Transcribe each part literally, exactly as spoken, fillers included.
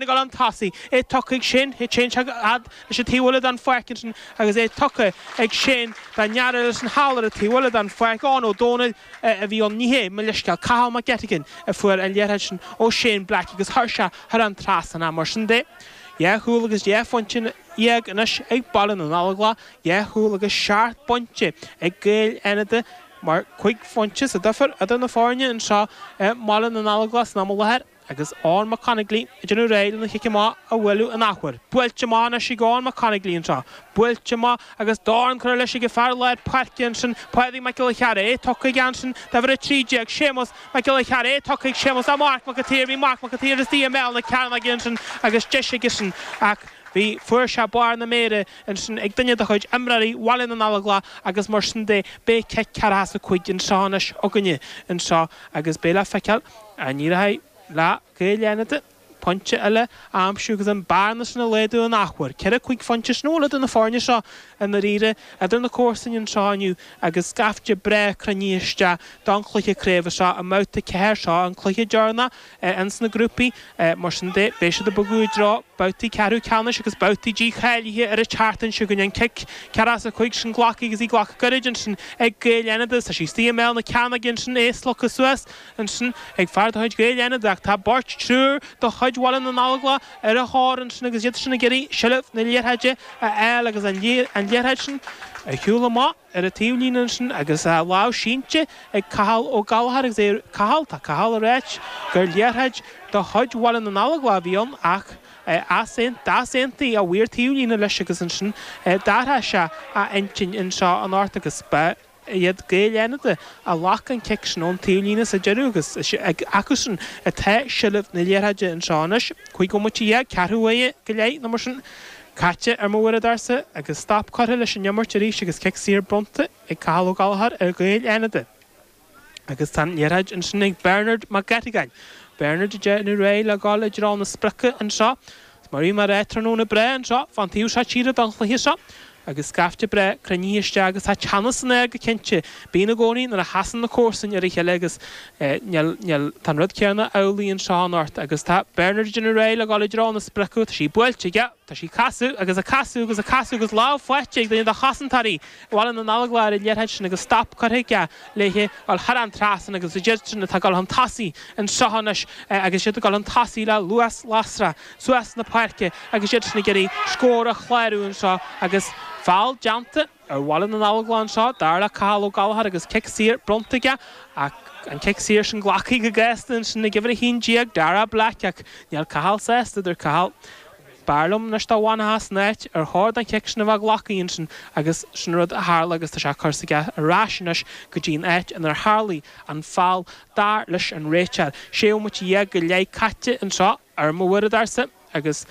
ag dul chun tosaigh, é tugtha ag Shane, é Shane a fhad leis an taobh eile den pháirc ansin agus é tugtha ag Shane dá ndeartháir leis an thall ar an taobh eile den pháirc, Eoin Ó Dónaill a bhí ann, ní hé, mo leithscéal, Cathal Mac Gettigan a fuair an liathróid sin ó Shane Black agus chuir sé thar an trasnán é. Mar sin de, dhá chúl agus dhá phointe dhéag anois ag Baile na nGallóglach, dhá chúl agus seacht bpointe ag Gaeil Fhánada mar cúig phointe sa difear idir na foirne anseo i mBaile na nGallóglach san am i láthair. Agus Eoin Mac Conaglaí ag déanamh réidh lena chic amach a bhualadh an athuair. Buailte amach anois ag Eoin Mac Conaglaí anseo. Buailte amach agus dorn curtha leis ag fear lár páirce ansin, Pádraig Mac Giolla Chearra. É tugtha aige ansin d'uimhir a trí déag, Séamus Mac Giolla Chearra. É tugtha ag Séamus do Marc Mac an tSaoir. Bhí Marc Mac an tSaoir istigh i mbéal na cearnóige ansin agus deis aigesean ach bhí fuair sé barr na méire ansin ag duine de chuid imreoirí Bhaile na nGallóglach agus mar sin de beidh cic ceathracha is a cúig anseo anois againne anseo agus beidh le feiceáil an éireoidh le Gaeil Fhánada pointe eile a aimsiú agus an bearna sin a laghdú an athuair. Ceithre cúig phointe sin idir na foirne seo i ndáiríre idir na comharsana anseo inniu agus scaifte breá cruinnithe isteach don chluiche craoibhe seo i mbabhta ceathair seo an cluiche deireanach ins na grúpaí mar sin de beidh siad ag bogadh i dtreo babhtaí ceathrú ceannais agus babhtaí dícháilithe ar an tseachtain seo chugainn. An cic ceathracha is a cúig sin glactha agus í glactha gairid ansin ag Gaeil Fhánada. Tá sí istigh i mbéal na cearnóige ansin é slogtha suas ansin ag fear de chuid Gaeil Fhánada ach tá beirt triúr de chuid Bhaile na nGallóglach ar a thóir ansin agus iad sin ag iarraidh seilbh na liathróide a fháil agus an liathróid sin ar shiúl amach ar an taobhlíne ansin agus a lámh sínte ag Cathal Ó Gallchóir agus é Cathal tá Cathal ag ráit gur liathróid de chuid Bhaile na nGallóglach a bhí ann ach d'easaontaigh a mhaor taobhlíne leis agus ansin d'athraigh sé a intinn anseo anocht agus ba iad Gaeil Fhánada a ghlac an cic sin ón taobhlíne sa deireadh agus acusan atá seilbh na liathróide anseo anois. Cúig bhomaite dhéag, ceathrú uaire go leith nó mar sin caite ar mo uaireadóirsa agus stop curtha leis an imirt arís agus cic saor bronnta ag Cathal Ó Gallchóir ar Ghaeil Fhánada. Agus tá an liathróid ansin ag Bernard Mac Gettigan. Bernard ag déanamh réidh le dul i dtreo na sprice anseo. Mar í mar tráthnóna breá anseo fan taobh seo tíre don chluiche seo. Agus scaifte breá cruinnithe isteach agus tá teannas san aer go cinnte. Bíonn i gcónaí nuair a sheasann na comharsain ar a chéile agus níl tá an rud céanna amhlaidh anseo anocht agus tá Bernard ag déanamh réidh le dul i dtreo na sprice tá sí buailte aige tá sí casadh agus a casadh agus a casadh agus lámh faighte ag duine de chosantóirí Bhaile na nGallóglach ar an liathróid sin agus stop curtha aige léi dul thar an trasnán agus iad sin atá ag dul chun tosaigh anseo anois agus iad ag dul chun tosaigh le luas lasrach suas na páirce agus iad sin ag iarraidh scór a chlárú anseo agus feall déanta ar Bhaile na nGallóglach anseo dar le Cathal Ó Gallchóir agus cic saor bronnta aige ach an cic saor sin glactha go gasta ansin ag uimhir a haon déag Dara Black ach níl Cathal sásta dúirt Cathal. B'fhearr liom anois dá bhfanfá san áit ar chóir don chic sin a bheith glactha ansin agus sin rud a tharla agus tá sé curtha aige ar ais anois go dtí an áit inar tharlaigh an feall dar leis an réiteoir. Sé bhomaite dhéag go leith caite anseo ar mo uaireadóirsa agus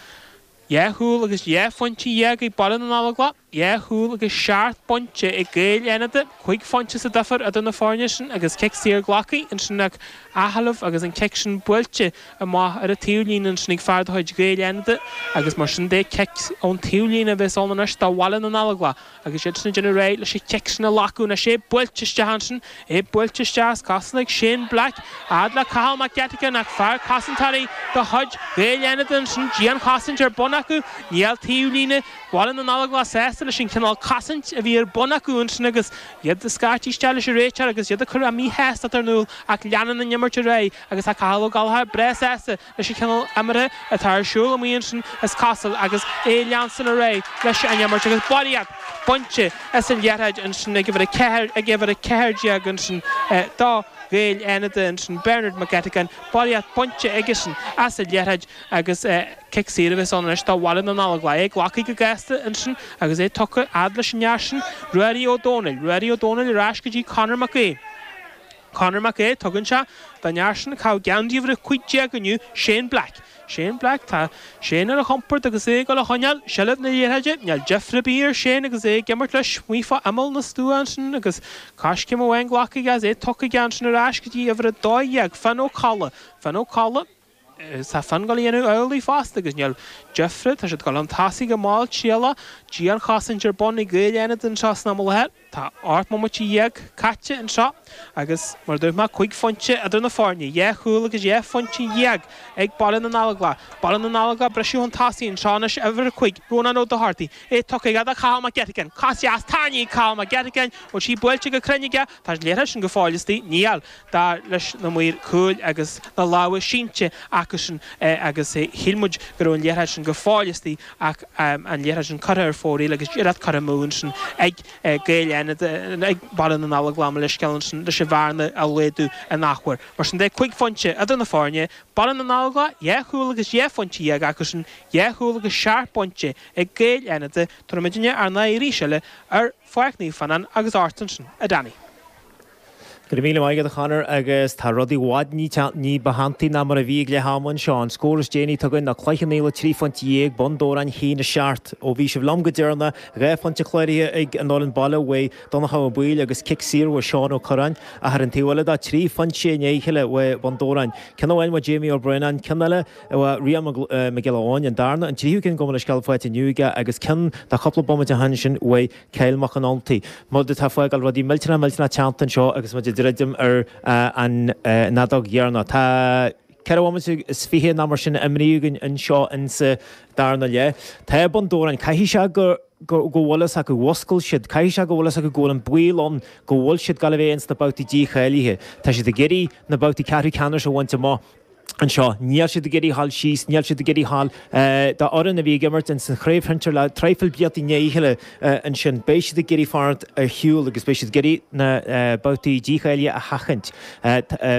dhá chúl agus dhá phointe dhéag ag Baile na nGallóglach, dhá chúl agus seacht bpointe ag Gaeil Fhánada, cúig phointe sa difear idir na foirne sin agus cic saor glactha ansin ag athsheilbh agus an cic sin buailte amach ar an taobhlíne ansin ag fear de chuid Gaeil Fhánada agus mar sin de cic ón taobhlíne a bheas ann anois do Bhaile na nGallóglach agus iad sin ag déanamh réidh leis an chic sin a ghlacadh anois é buailte isteach ansin é buailte isteach as cosanta ag Shane Black fhad le Cathal Mac Gettigan ach fear cosantóirí de chuid Gaeil Fhánada ansin dianchosaint ar bun acu níl taobhlíne Bhaile na nGallóglach sásta leis an cineál cosaint a bhí ar bun acu ansin agus iad ag scairteadh isteach leis an réiteoir agus iad ag cur a míshástacht in iúl ach leanann an imirt ar aghaidh agus tá Cathal Ó Gallchóir breá sásta leis an chineál imeartha atá ar siúl amuigh ansin is cosúil agus é leanstan ar aghaidh leis an imirt agus barraíocht bainte as an liathróid ansin ag uimhir a ceathair ag uimhir a ceathair déag ansin do Ghaeil Fhánada ansin Bernard McGettigan barraíocht bainte aigesean as an liathróid agus cic saor a bheas ann anois do Bhaile na nGallóglach é glactha go gasta ansin agus é tugtha fhad leis an fhear sin Ruairí Ó Dónaill Ruairí Ó Dónaill ar ais go dtí Conor Mac Aodh Conor Mac Aodh tugann sé don fhear sin cá geansaí uimhir a cúig déag inniu Shane Black. Shane Black tá Shane ar a chompord agus é ag dul a choinneáil seilbh na liathróide níl deifir ar bith ar Shane agus é ag imirt leis amuigh fá imeall na stua ansin agus coiscéim amháin glactha aige é tugtha aige ansin ar ais go dtí uimhir a dó dhéag Finn Ó Colla Finn Ó Colla Tá fonn ag gabháil a dhéanamh amhlaidh fosta agus níl deifre, tá siad ag gabháil chun tosaigh go malltriallach, dianchosaint ar bun ag Gaeil Fhánada anseo san am i láthair. Tá ocht mbomaite dhéag caite anseo agus, mar a dúirt mé, cúig phointe idir na foirne, dhá chúl agus dhá phointe dhéag ag Baile na nGallóglach. Baile na nGallóglach ag briseadh chun tosaigh anseo anois, uimhir a cúig, Rónán Ó Dochartaigh, é tugtha aige do Chathal Mac Gettigan. Cos dheas tarraingthe ag Cathal Mac Gettigan, bhfuil sí buailte go cruinn aige? Tá an liathróid sin go fóill istigh. Níl, dar leis na maoir cúil agus na lámha sínte acusan agus shíl muid go raibh an liathróid sin go fóill istigh ach an liathróid sin curtha ar fóraoil agus iarracht curtha amú ansin ag Gaeil Fhánada, ag Baile na nGallóglach, mo leithscéal ansin, leis an bhearna a laghdú in athuair. Mar sin de, cúig phointe idir na foirne, Baile na nGallóglach dhá chúl agus dhá phointe dhéag acusan, dhá chúl agus seacht bpointe ag Gaeil Fhánada. Tabharfaidh muidinne ár n-aghaidh arís eile ar Pháirc Naomh Fionnán agus ort ansin, a Danny. Go raibh míle maith agat a Chonor agus tá rudaí i bhfad ní ba theanntaí ná mar a bhí ag leath ama anseo. An scór is déanaí atá againn ná Cloich Cheann Fhaola trí phointe dhéag, Bun Dobhráin a haon a seacht. Ó bhí sibh liom go deireanach, dhá phointe cláraithe ag an fhoireann baile uaidh Donncha Ó Baoill agus cic saor uaidh Seán Ó Curráin. Ach ar an taobh eile de, trí phointe i ndiaidh a chéile uaidh Bun Dobhráin. Ceann amháin uaidh Jamie Ó Braonáin, ceann eile uaidh Rian Mac Giolla Eoin, an darna, an tríú ceann gabh mo leithscéal faighte inniu aige agus ceann de chúpla bomaite ó shin sin uaidh Kyle Mac an Ultaigh. Muid atá ag fágáil rudaí millteanach millteanach teannta anseo agus muid ag druidim ar an fheadóg dheireanach. Tá ceithre bhomaite is fiche nó mar sin imrithe againn anseo insa darna leath. Tá Bun Dobhráin, caithfidh sé go go bhfuil fhios acu, mhuscail siad, caithfidh sé go bhfuil fhios acu go bhfuil an baol ann go bhfuil siad ag gabháil a bheith ins na babhtaí dícháilithe. Tá siad ag iarraidh na babhtaí ceathrú ceannais a bhaint amach. anseo. Níl siad ag iarraidh a ghabháil síos, níl siad ag iarraidh a ghabháil do fhoireann a bhí ag imirt ins an chraobh shinsir le traidhfil blianta i ndiaidh a chéile ansin. Beidh siad ag iarraidh fanacht ar shiúl agus beidh siad ag iarraidh na babhtaí dícháilithe a sheachaint.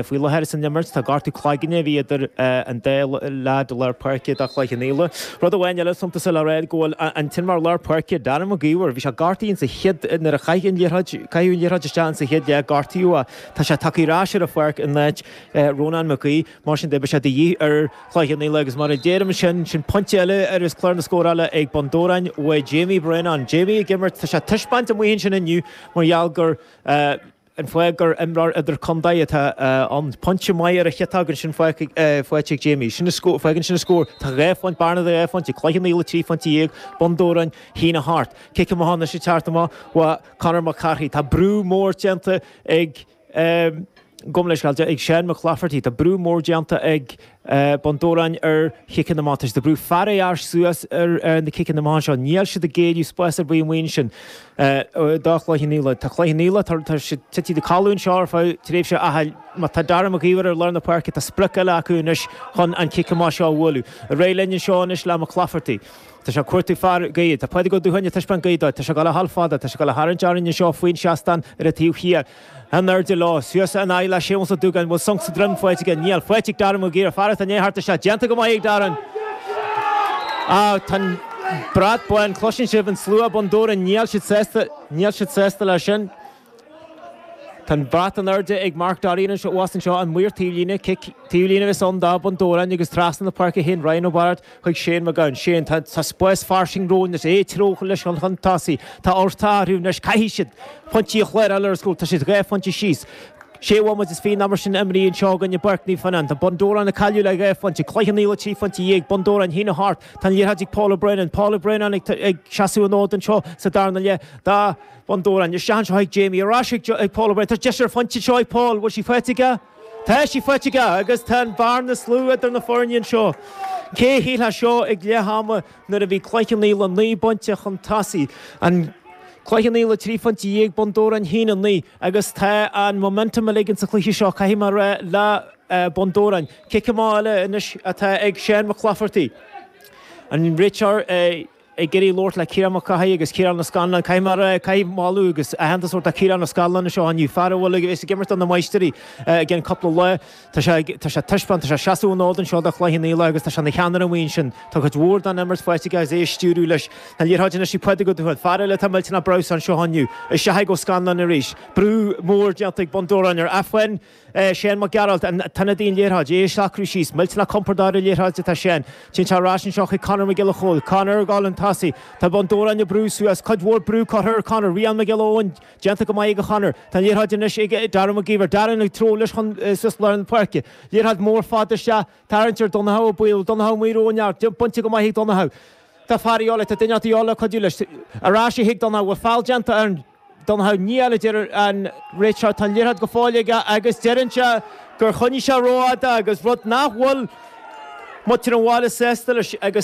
Faoi láthair san imirt tá gortú cloigne a bhí idir an dá leaid lár páirce do Chloich Cheann Fhaola. Rud amháin eile suntasach le rá go bhfuil an t-imreoir lár páirce, Darren Mac Íomhair, bhí sé gortaithe insa chéad nuair a chaith an liathróid, caitheadh an liathróid isteach insa chéad leath, gortaíodh é. Tá sé tagtha ar ais ar an pháirc in áit Rónán Mac Aoidh. Mar sin de, beidh sé de dhíth ar Chloich Cheann Fhaola agus mar a deirim sin, sin pointe eile ar is clár na scórála ag Bun Dobhráin uaidh Jamie Brennan. Jamie ag imirt, tá sé ag taispeáint amuigh ansin inniu mar gheall gur an fáth gur imreoir idirchontae atá ann. Pointe maith ar a chiotóg ansin faighte ag Jamie. Sin an scór, fágann sin an scór. Tá dhá phointe, bearna de dhá phointe, Cloich Cheann Fhaola trí phointe dhéag, Bun Dobhráin a haon a hocht. Cic amach anois ag teacht amach uaidh Conor Mac Cárthaigh. Tá brú mór déanta ag. Gabh mo leithscéal, ag Seán McClafferty. Tá brú mór déanta ag Bun Dobhráin ar chiceanna amach. Tá siad ag brú fear ar ais suas ar na ciceanna amach anseo. Níl siad ag géilleadh spás ar bith amuigh ansin do Chloich Cheann Fhaola. Tá Cloich Cheann Fhaola, tá siad tite i gcodladh anseo ar feadh tréimhse ach má tá Dara Mac Íomhair ar lár na páirce, tá sprioc eile acu anois chun an cic amach seo a bhualadh. Ar aghaidh linn anseo anois le McClafferty. Tá sé ag cuartú fear gaoithe. Tá Pádraig Ó Dúthain ag taispeáint gaoth dó. Tá sé ag dul a ghabháil fada. Tá sé ag dul a tharraingt orainn anseo faoin seastán ar an taobh thiar. In airde leo. Suas in aghaidh le Séamus Ó Dúgáin. Bhfuil sonc sa droim faighte aige? Níl. Faighte ag Darren Mac Íomhair. Fear atá i ndiaidh theacht isteach. Déanta go maith ag Darren. Á, tá an brat bán. Cloiseann sibh an slua Bun Dobhráin. Níl siad sásta. Níl siad sásta leis sin. Tá an brat in airde ag Mark Dorrian anseo thuas anseo, an maor taobhlíne, cic taobhlíne a bheas ann do Bhun Dobhráin agus trasna na páirce a théann Ryan Ó Bairéad chuig Shane Mac Gabhann. Shane, tá spás fairsing romhainn anois, é ag treabhadh leis chun tosaigh. Tá orthu athrú anois, caithfidh siad pointí a chláráil ar an scór, tá siad dhá phointe síos. Sé bhomaite is fiche nó mar sin imrithe anseo againn i bPáirc Naomh Fionnán. Tá Bun Dobhráin ag cailleadh le dhá phointe, Cloich Cheann Fhaola trí phointe dhéag, Bun Dobhráin a haon a hocht. Tá an liathróid ag Paul O'Brennan, Paul O'Brennan ag seasamh an fhóid anseo sa darna leath. Do Bun Dobhráin. Isteach anseo chuig Jamie, ar ais ag Paul O'Brien. Tá deis ar phointe anseo ag Paul. Bhfuil sí faighte aige? Tá sí faighte aige agus tá an bhearna is lú idir na foirne anseo. Cé a shílfeadh seo ag leath ama nuair a bhí Cloich Cheann Fhaola naoi bpointe chun tosaigh. An Cloich Cheann Fhaola trí phointe dhéag, Bun Dobhráin haon a naoi agus tá an momentum uilig insa chluiche seo, caithfidh mé a rá, le Bun Dobhráin. Cic amach eile anois atá ag Seán McClafferty. An réiteoir. ag iarraidh labhairt le Ciarán Mac Cárthaigh agus Ciarán Ó Scanláin. Caithfidh mé a rá, caithfidh moladh agus aitheantas a thabhairt do Chiarán Ó Scanláin anseo inniu, fear a bhfuil ag bheas ag imirt do na Máistirí i gceann cúpla lá. Tá sé ag, tá sé ag taispeáint, tá sé ag seasamh an fhóid anseo do Chloich Cheann Fhaola agus tá sé ina cheannaire amuigh ansin. Tá cuid mhór den imirt faighte aige agus é ag stiúradh leis. Tá an liathróid anois ag Pádraig Ó Dúthain, fear eile atá millteanach breabhsánach anseo inniu. Isteach ag Ó Scanláin arís. Brú mór déanta ag Bun Dobhráin air. Ach faigheann Seán Mac Gearailt, an t-ionadaí an liathróid, é ag socrú síos, millteanach compordach ar an liathróid atá Seán. Téann sé ar ais anseo chuig Conor Mac Giolla Chóill. Conor ag dul chun tosaigh. tosaigh Tá Bun Dobhráin ag brú suas cuid mhór brú curtha ar Conor Rian McGill déanta go maith ag Conor Tá liathróid anois ag Darren McGeever Darren ag treo leis chun suas lár na páirce Liathróid mór fada se tarraingthe ar Donncha Baol Donncha Maoir bainte go maith ag Donncha. Tá fear tá duine eile cuidiú leis ar ais chuig Donncha bhfuil feall déanta ar Donncha níl a deir an réiteoir tá liathróid go fóill aige agus deireann sé gur choinnigh sé rófhada agus rud nach bhfuil muintir an bhaile sásta leis agus